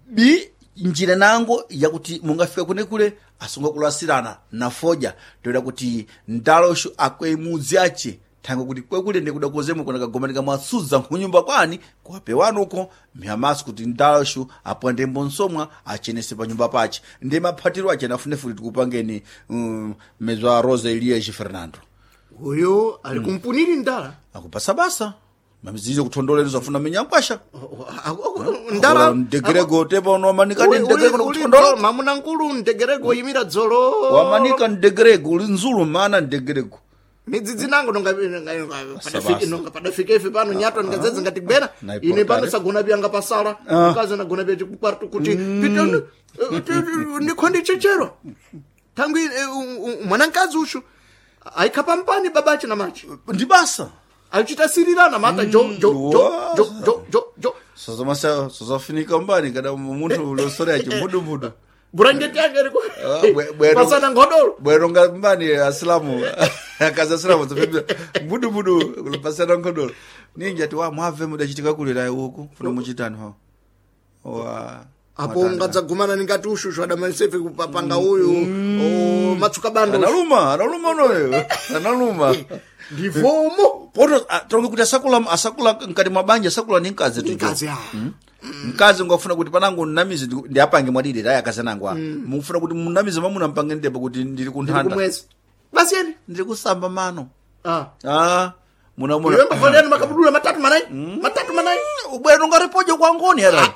bi njira nango yakuti mungafika kunekule asunga kulasirana na foja toera kuti ndalosho akwe mudzi ache thangwe kuti kwekule ndikuda kozemo kuna kagomanika mwasudza nkunyumba kwani kuwapewani uko mphamaso kuti ndalosho apwandembo nsomwa achenese pa nyumba pache ndi maphatiro ache anafunefuti tikupangeni um, mezwa Rosa Elias Fernando Uyo ali kumpuniri ndala. Akupasa basa mamizizo kuthondolera zafuna minyankwasha Ndala ndegerego tepa unomanika ndi Uli- ndegerego uli- uli nokuthondola dzolo, mamuna nkulu ndegerego yimira dzolo. Wamanika ndegerego uli nzulu mana ndegerego. Midzidzi nango nonga nonga- padafike nonga padafika ife pano nyatwa ngadzedze ngatigwera Na ine pano ipotare. sagona pyanga pasala mkazi anagona pya chikukwartu kuti pitoni ndikho ndichechero thangwi eh, u- u- mwanamkazi ushu aikhapa mpani babache na machi Ndi basa achichitasirirana mata jo jo jo jo jo jo jo sozomasa sozofunika mbani kada munthu ulosore achi mbudumbudu burangeti yake iri ku- Ah, bwe- bwero- pasana ngodolo. Bwero nga mbani asilamu akazi asilamu zopembera mbudumbudu kulipasana ngodolo ninja ti wa mwabve mudachitika kulira uku funa muchitani ho wa Apo ungadzagumana ningati ushushu adamalisefe kupapanga uyu o, matsuka bando analuma analuma unoyo analuma ndivomo. Poto ah, tonge kuti asakula asakula mkati mwa banja asakula ni mkazi tujo. Mkazi, ah. Mkazi ngafuna kuti panango nnamizi ndi- ndi apange mwadidi tayi akazi anango a mufuna kuti munamizi mamuna mpange ndepo kuti ndili kunthanda. Kumwezi basi eni. Ndili kusamba mano. Ah. Ah muna muna Iwe mbavalani makabudula matatu manai matatu manai. Ubwera ungaripoje kwa ngoni ara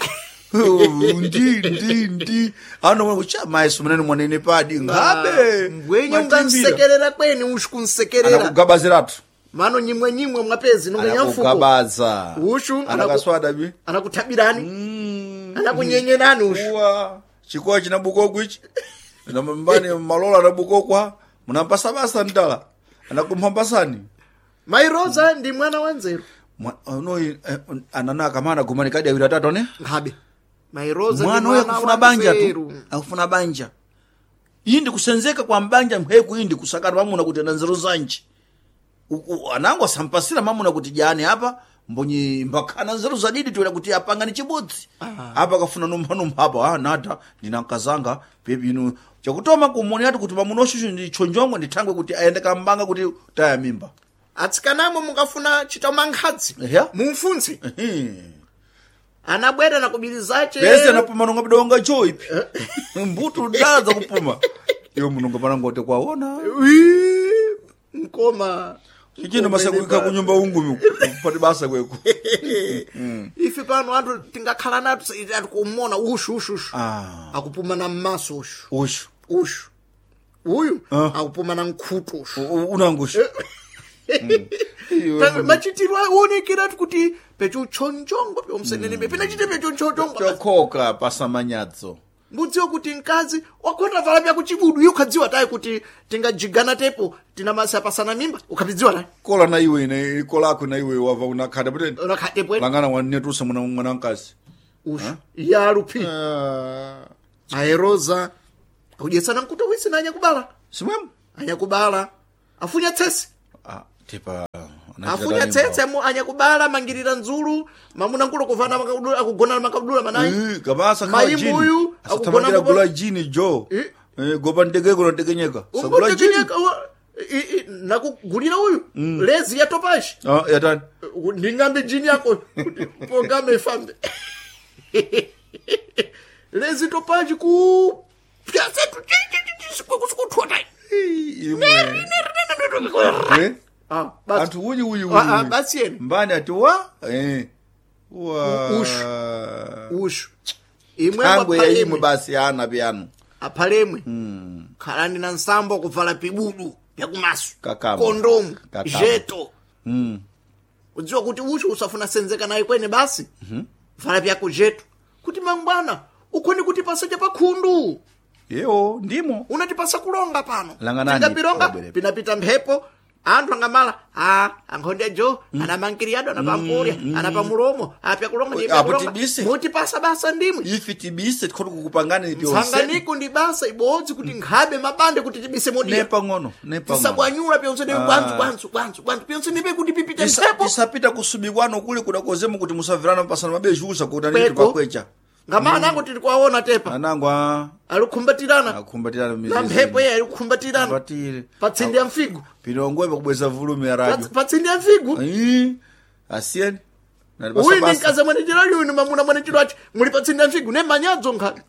ndi ndi ndi ano kucha maisu munene mwanene padi ngabe Mbwenye matimbira. ungansekerera kweni ushu kunsekerera. Anakugabaziratu. Mano nyimwe nyimwe mwapezi nonga nyamfuko. Anakugabaza. Ushu anaku- Anakaswada bi anakuthabirani anakunyenyenani ushu. Uwa chikowa chinabukokwa ichi mbani malola anabukokwa munampasabasa ndala anakumphambasani. Mai Rosa ndi mwana wa nzeru. Unoyi anana akamana gumani kadi awiri atatu ane Ngabe Mai Rosa ndi mwana uyo mwana akufuna wa banja tu nzeru. Akufuna banja iyi ndi kusenzeka kwa mbanja mheku iyi ndi kusakana mamuna kuti ana nzeru zanji U- u- anango asampasira mamuna kuti jani apa mbonyi mbakhana nzeru zadidi toera kuti apangani chibodzi apa akafuna numphanumpha apa ah, nada ndina nkazanga pepi inu chakutoma kumoni ati kuti mamuna ushushu ndi chonjongwe ndithangwe kuti aende kambanga kuti taya mimba. Atsikanamo mungafuna chita mankhadzi Ehe. mumfunse anabwera na kubirizache. Pese anapuma nonga bidonga choipi mbutu dala zakupuma iwe munonga panangote kwaona. Wii, mkoma. Ichino masakuika kunyumba ungumi kupati basa kweku. Ife pano anthu tingakhala nato atikumona ushu ushu ushu Ah. akupuma na mmaso ushu ushu ushu uyu Ah. akupuma na nkhutu ushu. U- u- unangushu Ta- machitiro aonekeratu kuti pechuchonchongo pyomseneneme pinachite pechuchonchongo chokhoka pasamanyadzo. Mbudziwe kuti mkazi wakhota vala pya kuchibudu iye ukhadziwa tayi kuti tingajigana tepo tinamasa pasana mimba ukhapidziwa tayi. Kola na iwe ine kolako na iwe wava unakhata puteni. Unakhatepwe. Langana wanetusa mwana mwana mkazi. Ushu yalupi aeroza akudyetsana mkuto wisi na anyakubala. Simwemo. Anyakubala afunya tsese. Ah, tipa Afunya tsetse mu anyakubala mangirira nzulu mamuna nkulo kuvana makabudula akugona makabudula manayi. Kabasa Maimbu uyu, akugona akugona kubo- gula jini jo. Eh. Eh, gopa ndege kuno tekenyeka sagula jini. Umbotekenyeka nakugulira uyu lezi ya topashi. Ah, yatani. Ndingambe jini yako kuti pongame ifambe lezi topashi ku pyasetu sikuthota. Imwe. Eh? Ah, basi. Anthu uyi uyi Ah, ah, uyi. Basi yena. Mbani ati wa eh wa Ushu. Ushu imwe thangwe ya imwe aphalemwe basi ana pyanu. Aphalemwe khalani na nsambo kuvala pibudu pyakumaso Kakama. kondomu Kakama. jeto Mm. Udziwa kuti ucho usafuna senzeka naye kwene basi. Vala vyako jetu. Kuti mangwana ukhoni kuti pasacha pakhundu. Yewo ndimo Unatipasa kulonga pano. Langanani, Tingapilonga wabwere. pinapita mphepo. Anthu angamala a ankhonde jo anamankiriyado anapampurya anapamulomo apya kulonga ndiye Apo kulonga. tibise. Mutipasa basa ndimwe. Ife tibise tikhoti kukupangani pyonse Msanganiko ndi basa ibodzi kuti nkhabe mabande kuti tibise modiya. nepang'ono nepang'ono Tisabwanyula pyonse ndibe bwanzu bwanzu bwanzu bwanzu pyonse ndibe kuti pipite Tisa- mphepo. tisapita kusubikwano kuli kudakozemo kuti musavirana pasana mabejusa kuti aniti Kweko. pakwecha Ngamana ango tili kuwaona tepa. anango a Alikumbatirana. akumbatirana Na mphepo iye alikumbatirana. Kumbatire. Patsindi ya mfigu. Pinongwe pakubweza volume ya radio. Patsindi ya mfigu. Ii, asiyeni. Nali basa Uyu ndi basa. mkazi mwene chilo uyu mamuna mwene chilo achi. Muli patsindi ya mfigu ne manyadzo nkhabe.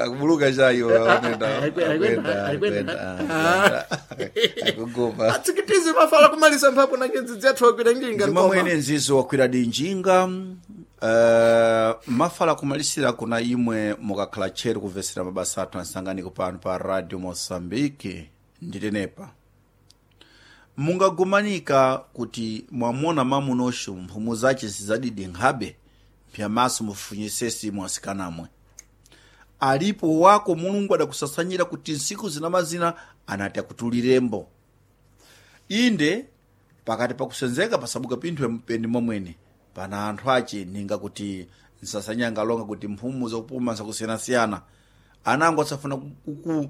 Akubuluka chayo akwenda. Alikwenda, Akwenda. alikwenda. Akwenda. Akugopa. Atsikitize mafala kumalisa mphapo na nyenzi dzathu akwira njinga. Ndima mwene nzizo wakwira dinjinga uh, mafala kumalisira kuna imwe mukakhala tcheru kumvesera mabasa athu ansanganiko pano pa radio Moçambique nditenepa mungagumanika kuti mwamona mamunosho mphumu zace zizadidi nkhabe pyamaso mufunyisesi mwasikanamwe alipo wako mulungu adakusasanyira kuti nsiku zina mazina anati akutulirembo inde pakati pakusenzeka pasabuka pinthu pendi momwene pana anthu ache ninga kuti nsasanyanga longa kuti mphumu zakupuma zakusiyanasiyana anango asafuna kuku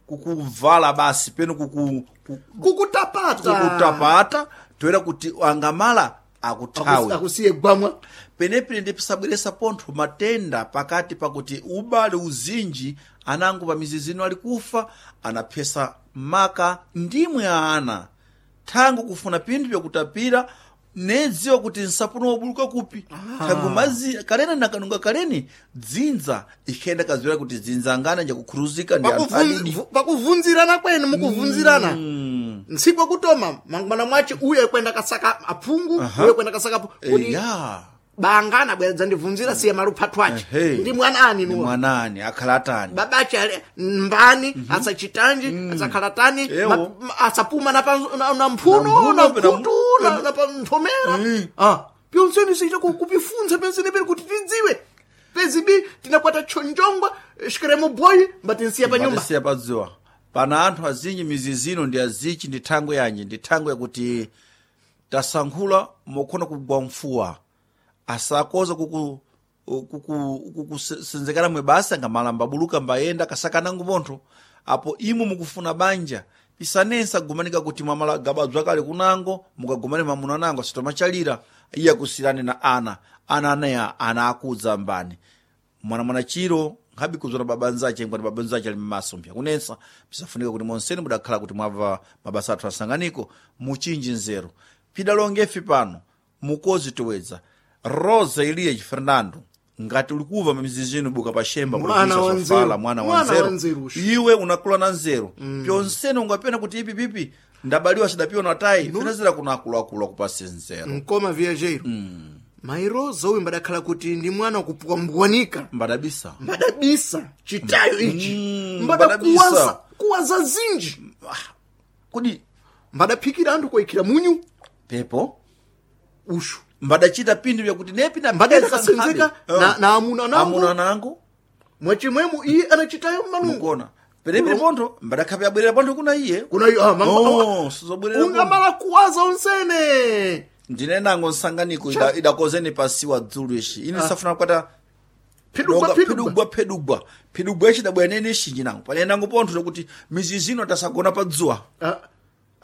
kukuvala basi peno kuku, kuku, Kukutapata. kukutapata toera kuti angamala akuthawe Akusiye gwamwa. penepene ndisabweresa pontho matenda pakati pakuti ubale uzinji anango pa mizi zino ali kufa anaphesa maka ndimwe ana thango kufuna pinthu pyakutapira nedziwa kuti nsapuno wabuluka kupi thango mazi kalena nakanunga kaleni dzinza ikhenda kaziwera kuti dzinza angana njakukhuruzika ndi anthu adidi Pakuvun- pakuvunzirana kwenu mukuvunzirana ntsiku akutoma mangwana mwace uyu akwenda kasaka aphungu uyu akwenda kasaka aphungu kuti ya bangana bwera ndivunzira siya maluphathu ace Ehe. ndi mwana ani ndi nuwa mwanani akhala atani babache ali mbani asachitanji asakhalatani Ewo. ma- ma- asapuma na pa- na- na mphuno Na na mphuno, mkhutu na na pa nthomera Ah, pyonseni siita ku- kupifunza pyonseni peri kuti tidziwe pezibi tinakwata chonjongwa shikeremo boyi mbatinsiya pa nyumba Patisiya padziwa pana anthu azinji mizi zino ndi azichi ndi thangwe yanji ndi thangwe yakuti tasankhula mokhona kugwa mfuwa asakoza kuku kuku- kukusenzekana mwe basi angamalamba buluka mbayenda kasakanango pontho apo imwe mukufuna banja pisanensa gumanika kuti mwamala gabadzwa kale kunango mukagumane mamuna nango asitomachalira iye akusirane na ana ana aneya ana akudza mbani mwana mwana chiro nkhabi kuzona baba nzache ngwati baba nzache ali mmaso mpya kunensa pisafunika kuti monseni mudakhala kuti mwabva mabasa athu asanganiko muchinji nzeru pidalongefi pano mukozi towedza Rosa Elias Fernando ngati ulikuva mizizino buka pashemba Mwana provinsia wa Sofala, nzeru. mwana wa Mwana wa nzeru nzeru usho. iwe unakula na nzeru mm. pyonsene ungapena kuti ipi pipi ndabaliwa sidapiwa na tayi finazira kuna akuluakulu akupase nzeru mkoma viajeiro mm. mairoza uyu mbadakhala kuti ndi mwana wakupwambwanika mbadabisa mbadabisa chitayo ichi Mm, mbadakuwaza mbadabisa. kuwaza zinji kodi mbadaphikira anthu koikhira munyu pepo ushu mbadachita pinthu vyakuti nepi na Mbadayenda kasenzeka na, na amuna nangu amuna nangu mwachimwemo iye anachitayo mmalungu mukona penepene pontho mbadakhape abwerera pontho kuna iye kuna iyo ah, mama- Oh, sizobwerera pontho. ungamala kuwaza onsene ndine nango nsanganiko ida- idakozeni pasiwa dzulu ishi ine safuna kukwata phidugwa Donga phidugwa phidugwa phidugwa phidugwa ichi dabwera nene ishinji nango pane nango pontho lokuti mizi zino tasagona pa dzuwa Ah,